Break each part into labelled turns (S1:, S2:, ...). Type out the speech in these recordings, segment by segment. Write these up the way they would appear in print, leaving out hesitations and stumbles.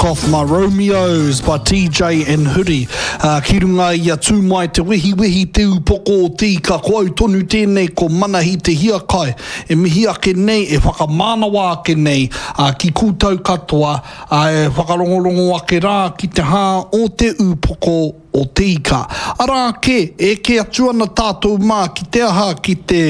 S1: Took Off My Romeos by TJ and Huri. Uh, ki runga i a tū mai te wehiwehi te upoko o te ika, ko au tonu tēnei ko Manahi te hiakai e mihi ake nei, e whakamānawa ake nei uh, ki koutou katoa, uh, e whakarongorongo ake rā ki te hā o te upoko o te ika. Arā kē, e eke atu ana tātou mā ki te aha, ki te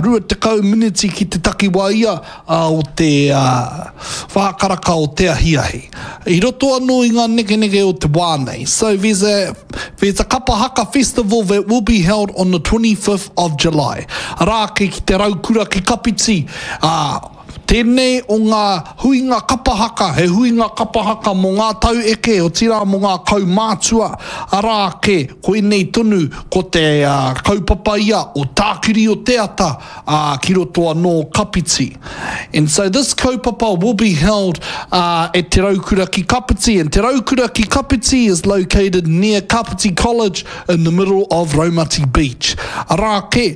S1: 20 miniti ki te takiwā ia o te whā karaka o te ahiahi. I roto anō i ngā nekeneke o te wā nei. So there's a, there's a kapa haka festival that will be held on the 25th of July. Arā kē ki te Raukura ki Kapiti, ā, Tēnei o ngā huinga kapa haka, he huinga kapa haka mō ngā tau eke, otirā mō ngā kaumātua, arā ake, koinei tonu ko te kaupapa ia o Tākiri o te Ata, ā, ki roto anō Kapiti. And so this kaupapa will be held at Te Raukura ki Kapiti, and Te Raukura ki Kapiti is located near Kapiti College in the middle of Raumati Beach. Arā ake,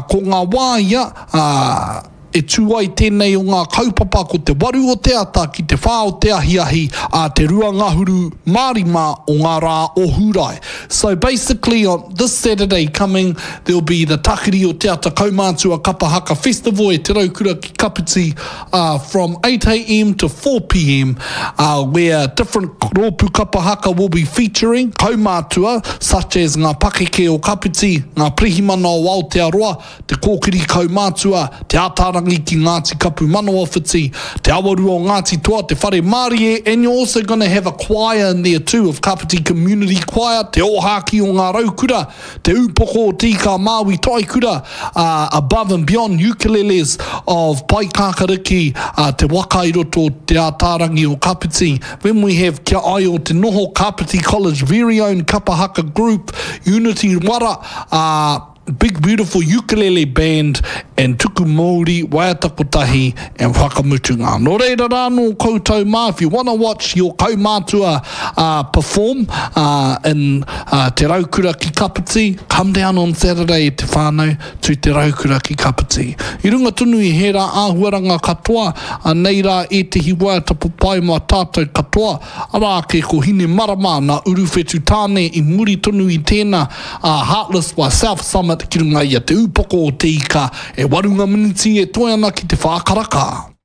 S1: ko ngā wā ia, ā, E tū ai tēnei o ngā kaupapa ko te waru o te ata ki te whā o te ahiahi ā te 25 o ngā rā o Hūrae. So basically on this Saturday coming there'll be the Takiri o Te Ata Kaumātua Kapa Haka Festival e Te Raukura ki Kapiti ā from 8am to 4pm ā where different rōpū kapa haka will be featuring kaumātua such as ngā pakeke o Kapiti, ngā pirihimana o Aotearoa, Te Kōkiri Kaumātua, Te Ātaarangi ki Ngāti Kapu Manawawhiti, Te Awarua o Ngāti Toa, Te Whare Mārie, and you're also gonna have a choir in there too of Kapiti Community Choir, Te Ōhākī o Ngā Raukura, Te Ūpoko o Te Ika a Māui Taikura, ā, Above and Beyond Ukuleles of Paekākariki, ā, Te Waka i roto o Te Ātaarangi o Kapiti. Then we have Kia Aio Te Noho, Kapiti College very own kapa haka group, Unity Wara, ā, Big Beautiful Ukulele Band and Tuku Mouri, Waiata Kotahi and Whakamutunga. Nō reira rā nō koutou mā, if you wanna watch your kaumātua perform in Te Raukura ki Kapiti, come down on Saturday e te whānau to Te Raukura ki Kapiti. I runga tonu i hērā āhuaranga katoa, anei rā ētehi waiata papai mā tātou katoa, arā ake ko Hinemarama nā Uruwhetu Tāne i muri tonu i tēnā, a Heartless by South Summit ki runga i a Te Ūpoko o Te Ika, e waru ngā miniti e toe ana ki te whā karaka.